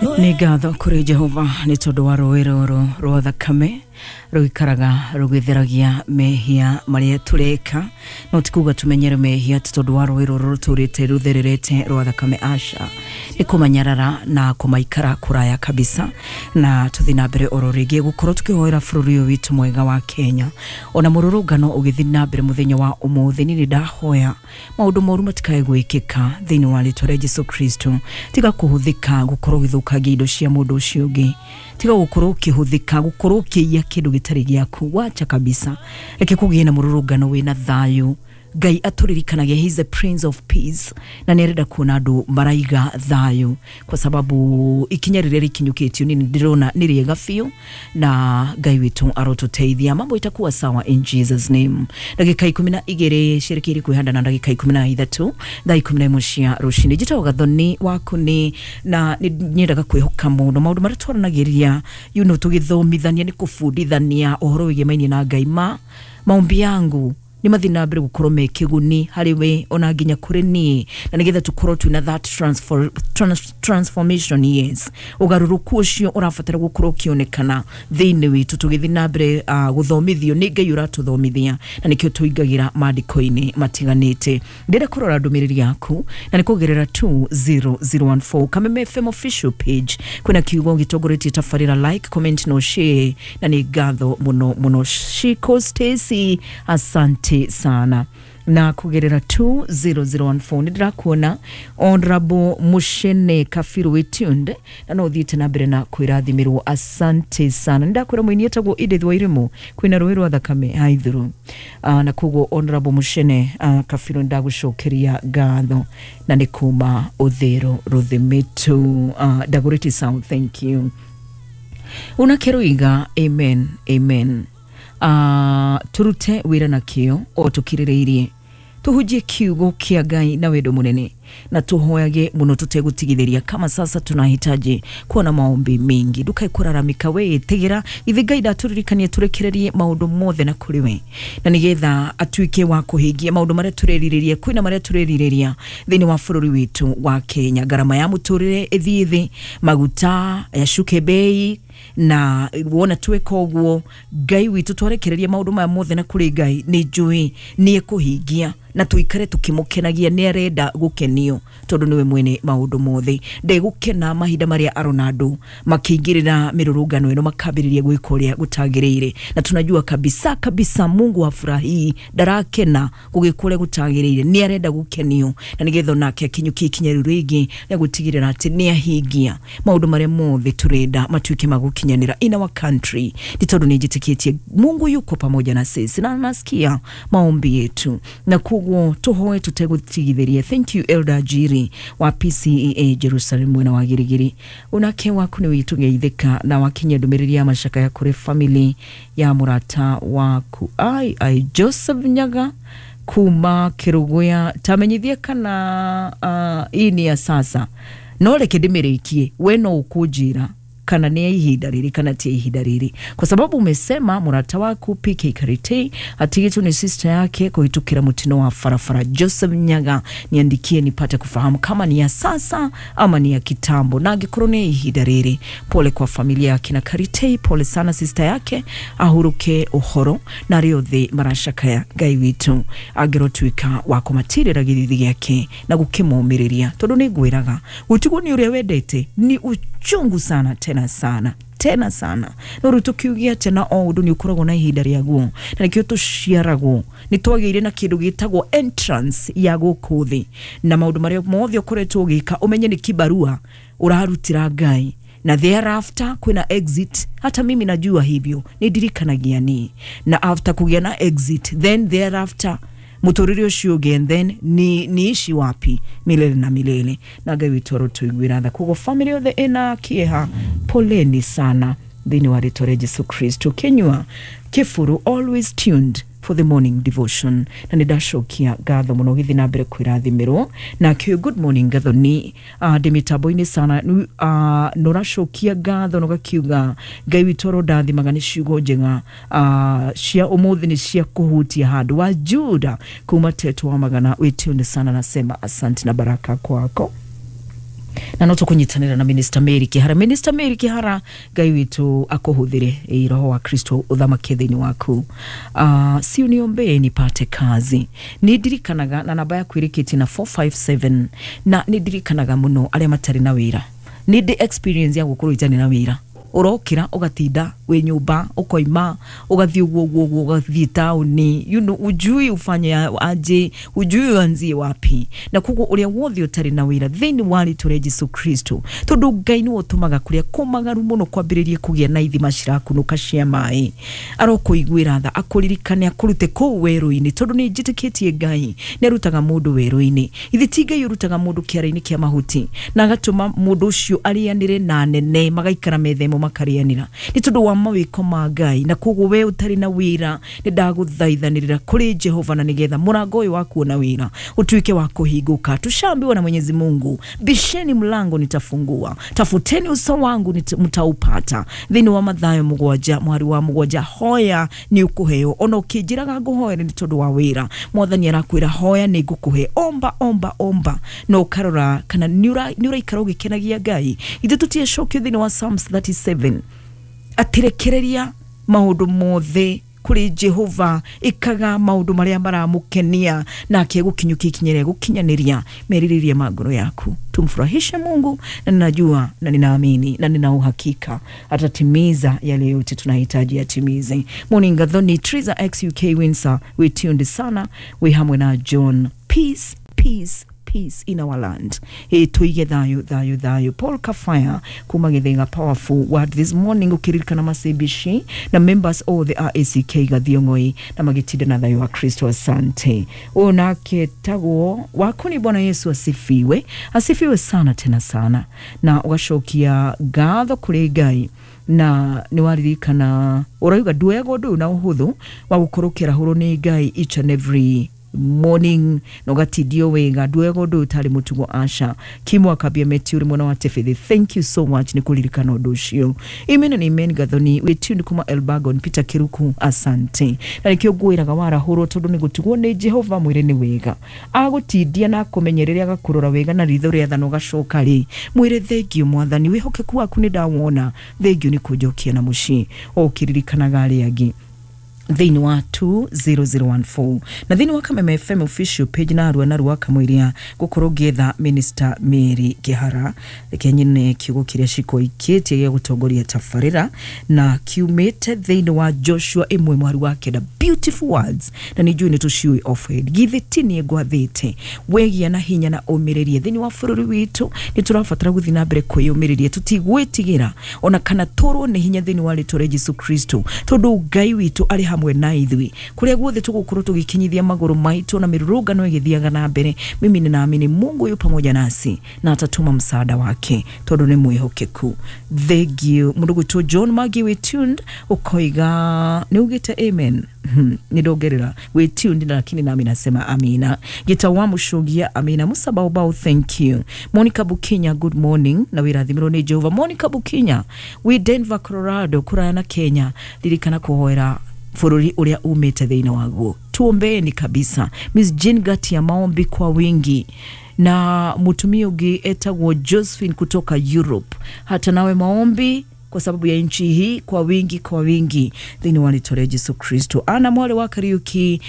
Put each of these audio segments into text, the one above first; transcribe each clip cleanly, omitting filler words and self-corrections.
Nĩ ngatho kũrĩ Jehova nĩ tondũ wa rũĩ rũrũ rwa thakame rũikaraga rũgĩtheragia mehia marĩa tũreka. No ti kuga tũmenyere mehia ti tondũ wa rũĩ rũrũ rũtũrĩte rũthererete rwa thakame, aca, nĩ kũmanyarara na kũmaikara kũraya kabisa. Na tũthiĩ na mbere oro rĩngĩ gũkorwo tũkĩhoera bũrũri ũyũ witũ mwega wa Kenya, ona mũrũrũngano ũgĩthiĩ na mbere mũthenya wa ũmũthĩ. Niĩ nĩ ndahoya maũndũ moru matikae gwĩkĩka thĩinĩ wa rĩtwa rĩa Jesu Kristo. Tiga kũhũthĩka gũkorwo ũgĩthũkangia indo cia mũndũ ũcio ũngĩ, tiga gũkorwo ũkĩhũthĩka gũkorwo ũkĩiya kĩndũ gĩtarĩ gĩaku, wacha kabisa. Reke kũgĩe na mũrũrũngano wĩna thayũ. Ngai atũririkanagia he is the Prince of Peace, na nĩ arenda kuona andũ maraiga thayũ, kwa sababu ikinya rĩrĩa rĩkinyũkĩtio nĩ ndĩrona nĩ rĩega biũ, na Ngai witũ arotũteithia, mambo itakuwa sawa in Jesus name. Ndagĩka 12 ciĩrĩkĩire kwĩhanda na ndagĩka 13, thaa 11 cia rũcinĩ. Njĩtagwo Gathoni waku nĩ na nĩ nyendaga kwĩhoka mũno maũndũ marĩa twaranagĩria, tũgĩthomithania nĩ kũbundithania ũhoro wĩgĩmainie na Ngai. Ma maombi yangu nĩ mathiĩ na mbere gũkorwo me kĩguni harĩ we ona nginya kũrĩ niĩ, na nĩgetha tũkorwo twĩna that transformation, yes, ũgarũrũku ũcio ũrabatara gũkorwo ũkĩonekana thĩinĩ witũ tũgĩthiĩ na mbere gũthomithio nĩ Ngai ũratũthomithia, na nĩkĩo tũingagĩra maandĩko-inĩ matiganĩte. Ndĩrenda kũrora ndũmĩrĩri yaku na nĩ kũgerera 20014 Kameme FM official page. Kwĩna kiugo gĩtongoretie tabarĩra, like, comment no share, na nĩ ngatho mũno mũno. Shiko Stacy, asante sana. Na kugerera 20014 nĩ ndĩrakuona Honorable Mushene Kafiru wĩtunde na no ũthiĩte na mbere na kwĩrathimĩrwo, asante sana. Nĩ ndakwĩra mũini etagwo Edith Wairimu kwĩna rũĩ rwa thakame haithuru. Na koguo Honorable Mushene Kafiru, nĩ ndagũcokeria ngatho na nĩ kuma Ũthĩro Rũthimitu, Dagoretti South, thank you. Unakeruiga amen, amen. Turute wĩra na kĩo o tũkirĩrĩirie, tuhunjie kiugo kĩa Ngai na wendo mũnene, na tuhoyage mũno tũtegũtigithĩria. Kama sasa tunahitaji kuwa na maombi mingi. Ndukae kũraramika, we ĩtĩgĩra ithi Ngai ndatũririkanie tũrekererie maũndũ mothe na kũrĩ we, na nĩgetha atuĩke wa kũhingia maũndũ marĩa tũrerirĩria. Kwĩna marĩa tũrerirĩria thĩinĩ wa bũrũri witũ wa Kenya: ngarama ya mũtũrĩre ĩthiĩ thĩ, maguta yacuke bei, na wona tweka ũguo Ngai witũ twarekereria maũndũ maya mothe na kũrĩ Ngai, nĩ njũĩ nĩ ekũhingia na tũikare tũkĩmũkenagia. Nĩ arenda gũkenio tondũ nĩwe mwene maũndũ mothe. Ndegũkena mahinda marĩa arona andũ makĩingĩrĩra mĩrũrũngano ĩno makambĩrĩria gwĩka ũrĩa gũtagĩrĩire, na tunajua kabisa kabisa Mungu hafurahii, ndarakena gũgĩka ũrĩa gũtagĩrĩire. Nĩ arenda gũkenio na nĩgetha onake akinyũkie ikinya rĩu rĩngĩ rĩa gũtigĩrĩra atĩ nĩ ahingia maũndũ marĩa mothe tũrenda matuĩke ma gũkinyanĩra in our country. Nĩ tondũ nĩ njĩtĩkĩtie Mungu yuko pamoja na sisi na anasikia maombi yetu, na koguo tũhoe tũtegũtigithĩria. Thank you, Elder Jiri wa PCEA Jerusalem mwena wa Girigiri. Unake waku nĩ witũgeithĩka na wakinyia ndũmĩrĩri ya macakaya kũrĩ family ya mũrata waku ai ai Joseph Nyaga kuma Kĩrũgũya. Tamenyithie kana hii ni ya sasa, no reke ndĩmĩrĩkie. We no ũkũnjĩra kana nĩ ya ihinda rĩrĩ kana ti ya ihinda rĩrĩ, kwa sababu umesema mũrata waku PK Karite atigĩtwo nĩ sister yake kũhĩtũkĩra mũtino wa barabara. Joseph Nyaga, niandikie nipate kufahamu kama ni ya sasa ama ni ya kitambo, na angĩkorwo nĩ ya ihinda rĩrĩ, pole kwa familia yake na Karitei, pole sana sister yake, ahuruke ũhoro na arĩa othe maracakaya. Ngai witũ angĩrotuĩka wa kũmatirĩra gĩthithi gĩake na gũkĩmomĩrĩria, tondũ nĩ ngwĩraga gũtigwo nĩ ũrĩa wendete ni uchungu sana, tena sana, tena sana. No rĩu tũkiuge atĩa na o ũndũ nĩ ũkoragwo na ihinda rĩaguo, na nĩkĩo tũciaragwo nĩ twagĩire na kĩndũ gĩtagwo entrance ya gũkũ thĩ, na maũndũ marĩa mothe ũkoretwo ũgĩka ũmenye nĩ kibarua ũrarutĩra Ngai, na thereafter kwĩna exit. Hata mimi najua hivyo, nĩ ndirikanagia ni na after kũgĩa na exit, then thereafter mũtũrĩre ũcio ũngĩ, and then ni niishi wapi milele na milele? Na Ngai witũ arotũiguĩra tha. Koguo family yothe ĩna kĩeha, poleni sana thĩinĩ wa rĩtwa rĩa Jesu Kristo. Kenyua Kĩburu, always tuned for the morning devotion, na nĩ ndacokia ngatho mũno, gĩthiĩ na mbere kwĩrathimĩrwo nakĩo. Good morning Gathoni, ndĩ mĩtambo-inĩ sana. Nũracokia ngatho nũgakiuga Ngai witũ arondathimaga nĩ ciugo njega cia ũmũthĩ, nĩ cia kũhutia handũ wa Juda kuma Teto wa Magana. Wĩtune sana, nasema asante na baraka kwako. Na no tũkũnyitanĩra na Minister Mary Kihara. Minister Mary Kihara, Ngai witũ akũhũthĩre, roho wa Kristo ũthamake thĩinĩ waku. Si uniombee nipate kazi. Nĩ ndirikanaga na namba yaku ĩrĩkĩtie na 457, na nĩ ndirikanaga mũno arĩa matarĩ na wĩra. Nĩ ndĩ experience ya gũkorwo itarĩ na wĩra, ũrokĩra ũgatinda wĩ nyũmba, ũkoima ũgathiĩ ũguo ũguo ũguo, ũgathiĩ taũni, ujui ufanye aje, ujui uanzie wapi. Na koguo ũrĩa wothe ũtarĩ na wĩra, thĩinĩ wa rĩtwa rĩa Jesu Kristo, tondũ Ngai nĩwe ũtũmaga kũrĩa kũmagaru mũno kwambĩrĩrie kũgĩa na ithima cirakunũka cia maĩ, arokũiguĩra tha, akũririkane, akũrute kũu werũ-inĩ, tondũ nĩ njĩtĩkĩtie Ngai nĩ arutaga mũndũ werũ-inĩ. Ithe ti Ngai ũrutaga mũndũ kĩara-inĩ kĩa mahuti na agatũma mũndũ ũcio arĩanĩre na nene, magaikara metha ĩmwe makarĩanĩra, nĩ tondũ wa mawĩko ma Ngai. Na koguo we ũtarĩ na wĩra, nĩ ndagũthaithanĩrĩra kũrĩ Jehova na nĩgetha mũrango ũyũ wa kuona wĩra ũtuĩke wa kũhingũka. Tushaambiwa na Mwenyezi Mungu, bisheni mlango nitafungua, tafuteni uso wangu mtaupata. Thĩinĩ wa Mathayo 7 mwari wa 7, hoya nĩ ũkũheo. Ona ũkĩnjĩraga ngũhoere nĩ tondũ wa wĩra, Mwathani arakwĩra hoya nĩ ngũkũhe, omba omba omba, na ũkarora kana nĩ ũraikara ũgĩkenagia Ngai. Ithuĩ tũtiacokio thĩinĩ wa Psalms 37 atirekereria maũndũ mothe kũrĩ Jehova, ĩkaga maũndũ marĩa maramũkenia, nake gũkinyũkia ikinya rĩa gũkinyanĩria merirĩria ma ngoro yaku. Tumfurahishe Mungu, na ninajua na ninaamini na nina uhakika atatimiza yale yote tunahitaji atimize. Morning Gathoni, Triza XUK Windsor, we tuned sana, we hamwe na John. Peace, peace, peace in our land. Tuige thayo thayo thayo. Paul Kafaya kuma Githiga, powerful word this morning, ukiririkana macebici na members all the RACK Gathiong'oi na magitinda na thayo wa Kristo, asante. Ũyũ tagwo waku ni Bwana Yesu asifiwe, asifiwe sana tena sana, na ũgacokia ngatho kũrĩ Ngai na nĩ waririkana ũrauga nduoyaga ũndũ ũyũ na ũhũthũ wa gũkorwo ũkĩarahũrwo nĩ Ngai each and every morning na ũgatindio wega. Nduoyaga ũndũ ũyũ ũtarĩ mũtugo aca. Kimwa akambia Meti ũrĩ mwena wa Tebethi, thank you so much nĩ kũririkana ũndũ ũcio. Amen and amen. Gathoni, we tuned kuma Elbagon. Peter Kiruku, asante. Na nĩkĩo ngwĩraga warahũrwo tondũ nĩ gũtigwo nĩ Jehova, mwĩre nĩ wega agũtindia na akũmenyerere, agakũrora wega na ritho rĩa thano, ũgacoka rĩ mwĩre thengio Mwathani, wĩhokeku waku nĩ ndawona, thengio nĩ kũnjokia na mũciĩ, o ũkĩririkanaga arĩa angĩ thĩinĩ wa 20014 na thĩinĩ wa Kameme FM official page na arua na rua kamũiria gũkorwo ngĩetha Minister Mary Kihara. Reke nyine kiugo kĩrĩa cikoikĩtie gĩa gũtongoria tabarĩra na kiumĩte thĩinĩ wa Joshua 1 mwari wa 9, beautiful words, na nĩ njũĩ nĩ tũciũĩ off head. Githĩ ti niĩ ngwathĩte wegia na hinya na ũmĩrĩrie. Thĩinĩ wa bũrũri witũ nĩ tũrabatara gũthiĩ na mbere kwĩyũmĩrĩria, tũtigwĩtigĩra ona kana tũrwo nĩ hinya thĩinĩ wa rĩtwa rĩa Jesu Kristo, tondũ Ngai witũ arĩ hamwe na ithuĩ kũrĩa guothe tũgũkorwo tũgĩkinyithia magũrũ maitũ na mĩrũrũngano ĩgĩthiaga na mbere. Mimi ninaamini Mungu yu pamoja nasi na atatuma msaada wake tondũ nĩ mwĩhokeku. Thank you mũndũ gwĩtwo John Magi, we tuned, ũkoiga nĩ ugĩte amen. Nidongerera we tuned, lakini nami nasema amina. Gita wa Mushugia, amina. Musa Baobao, thank you. Monica Bukinya, good morning na wĩrathimĩrwo nĩ Jehova. Monica Bukinya we Denver, Colorado, kũraya na Kenya, ririkana kũhoera bũrũri ũrĩa umĩte thĩinĩ waguo. Tuombeeni kabisa. Miss Jean Gati ya maombi kwa wingi, na mutumia ũngĩ etagwo Josephine kutoka Europe, hata nawe maombi kwa sababu ya nchi hii kwa wingi kwa wingi thĩinĩ wa rĩtwa rĩa Jesu Kristo. Ana mwarĩ wa Kariuki,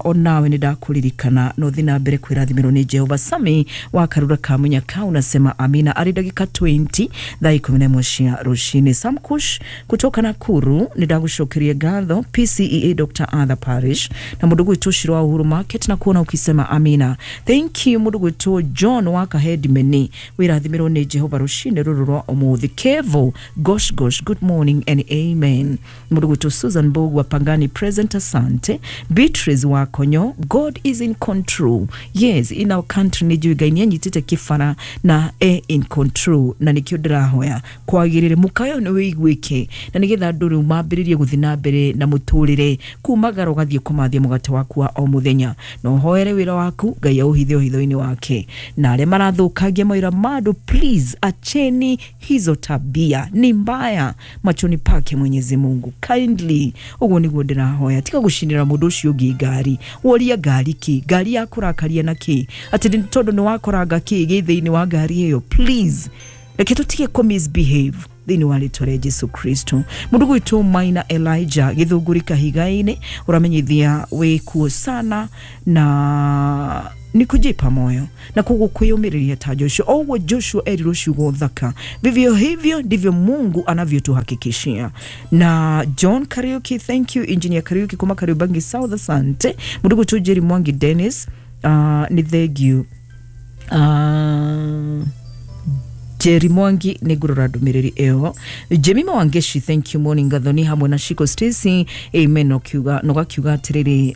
onawe nĩ ndakũririkana no thiĩ na mbere kwĩrathimĩrwo nĩ Jehova. Sami wa Karura Kamunyaka unasema amina. Arĩ ndagĩka 20 thaa 11 cia rũcinĩ. Sam Kush kutoka Nakuru, nĩ ndagũcokeria ngatho. PCEA Dr. Arthur Parish na mũndũ gwĩtwo Shiro wa Uhuru Market na kuona ukisema amina, thank you. Mũndũ gwĩtwo John wa Kahedimeni, wĩrathimĩrwo nĩ Jehova rũcinĩ rũrũ rwa ũmũthĩ. Kevo Gosh Gosh, good morning and amen. Mũndũ gwĩtwo Susan Bogu wa Pangani present, asante. Beatrice wa Konyo, God is in control. Yes, in our country nĩ njũĩ Ngai nĩ anyitĩte kĩbara na e in control, na nĩkĩo ndĩrahoya kwagĩrĩre mũkayo nĩ wĩiguĩke na nĩgetha andũ rĩu mambĩrĩrie gũthiĩ na mbere na mũtũrĩre kumagara ũgathiĩ kũmathia mũgate waku wa o mũthenya, na ũhoere wĩra waku Ngai aũhithe ũhitho-inĩ wake, na arĩa marathũkangia mawĩra ma andũ, please acheni hizo tabia ni mbaya. mbaya machoni pake Mwenyezi Mungu. Kindly, uguo niguo ndĩrahoya, tiga gũcinĩra mũndũ ũcio ũngĩ ngari. Woria ngari kĩ? Ngari yakũrakaria na kĩ? Atĩ tondũ nĩ wakoranga kĩ gĩ thĩinĩ wa ngari ĩyo? Please, reke tũtige kũ misbehave thĩinĩ wa rĩtwa rĩa Jesu Kristo. Mũndũ gwitũ Maina Elijah Gĩthũngũri Kahiga-inĩ, ũramenyithia wĩ kuo sana na ni kujipa moyo na koguo kwiyumĩrĩria ta Joshua. O ũguo Joshua erirwo ciugo thaka, vivyo hivyo ndivyo Mungu anavyotuhakikishia. Na John Kariuki, thank you. Engineer Kariuki kuma Kariobangi South, asante. Mũndũ gwitũ Jerry Mwangi Dennis, ni thank you. Jerry Mwangi nĩ ngũrora ndũmĩrĩri ĩyo. Jemima Wangeshi, thank you. Morning Gathoni hamwe na Shiko Stacy, amen. Nogakiuga atĩrĩrĩ,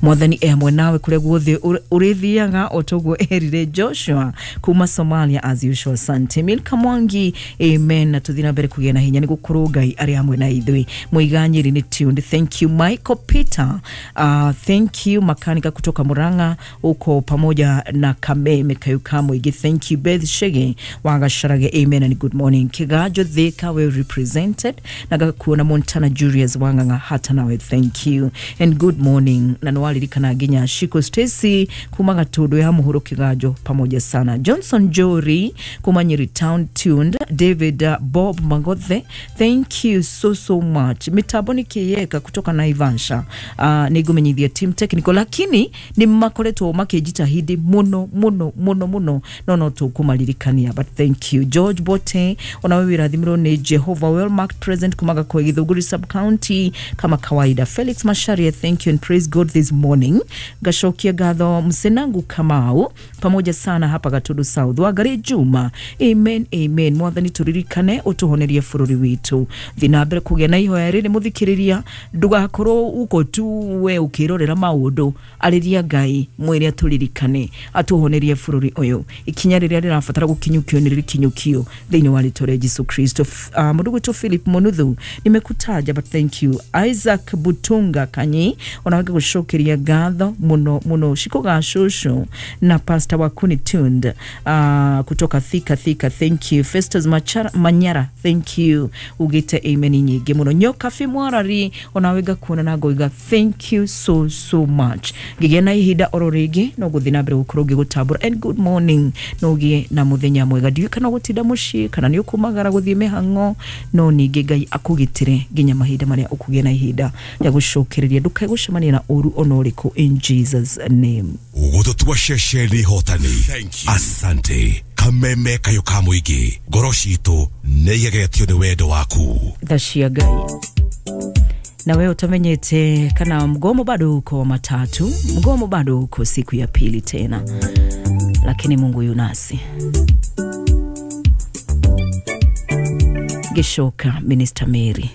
mwathani e hamwe nawe kũrĩa guothe ũrĩthiaga, o toguo erire Joshua kuma Somalia, as usual. Asante Milka Mwangi, amen. Na tũthiĩ na mbere kũgĩa na hinya nĩ gũkorwo Ngai arĩ hamwe na ithuĩ. Mũiga Nyeri nĩ tuned, thank you. Michael Peter, thank you. Makanika kutoka Murang'a uko pamoja na Kameme Kayuka Mũingĩ, thank you. Beth Shege Wagasharage, amen and good morning. Kigajo Thika well represented, na gakuona Montana Julius Wanganga, hata nawe thank you and good morning. Na nĩwaririkana nginya Shiko Stacy kuma Gatundu ya Muhuro Kigajo, pamoja sana. Johnson Jori kuma Nyeri Town tuned. David Bob Mangothe, thank you so so much. Mitambo nĩ Kĩyeka kutoka Naivasha, nĩngũmenyithia team technical, lakini nĩ makoretwo makĩnjitahidi mũno mũno mũno mũno, no no tũkũmaririkania, but thank you. George Bote, onawe wĩrathimirwo nĩ Jehovah, well marked present kumaga kwa Githũngũri sub county kama kawaida. Felix Masharia, thank you and praise God this morning. Gacokia ngatho Msenangu Kamau, pamoja sana hapa Gatundu South. Wangari Juma, amen amen. Mwathani tũririkane ũtũhonerie bũrũri witũ. Thiĩ na mbere kũgĩa na ihoya rĩrĩ mũthikĩrĩria, ndũgakorwo uko tu we ũkĩrorera maũndũ, arĩria Ngai mwĩre atũririkane atũhonerie bũrũri ũyũ. Ikinya rĩrĩa rĩrabatara gũkinyũkio nĩ rĩkinyũkio thĩinĩ wa rĩtwa rĩa Jesu Kristo. Mũndũ gwitũ Philip Monuthu, nimekutaja but thank you. Isaac Butunga Kanyi, onawe ngagũcokeria ngatho mũno mũno. Shiko Gacũcũ na Pastor Wakuni tuned, kutoka Thika Thika, thank you. Festus Machara, Manyara, thank you. Ugite amen nyingĩ mũno. Nyoka Mwarari, onawe ngakuona na ngoiga thank you so so much. Ngĩgĩa na ihinda oro rĩngĩ no gũthiĩ na mbere gũkorwo ngĩgũtambũra and good morning, no ũgĩe na mũthenya mwega. Ndiũĩ kana ũgũtinda mũciĩ kana nĩ ũkumagara gũthiĩ mĩhang'o, no ningĩ Ngai akũgitĩre nginya mahinda marĩa ũkũgĩa na ihinda rĩa gũcokereria. Ndũkae gũcemania na ũru ona ũrĩkũ, in Jesus name. Gũtũtua ceceni hotani. Asante Kameme Kayo ka Mũingĩ, ngoro citũ nĩ igegetio nĩ wendo waku. Tha cia Ngai. Na wewe utamenyete kana mgomo bado uko wa matatu, mgomo bado uko siku ya pili tena, lakini Mungu yunasi. Gishoka Minister Mary.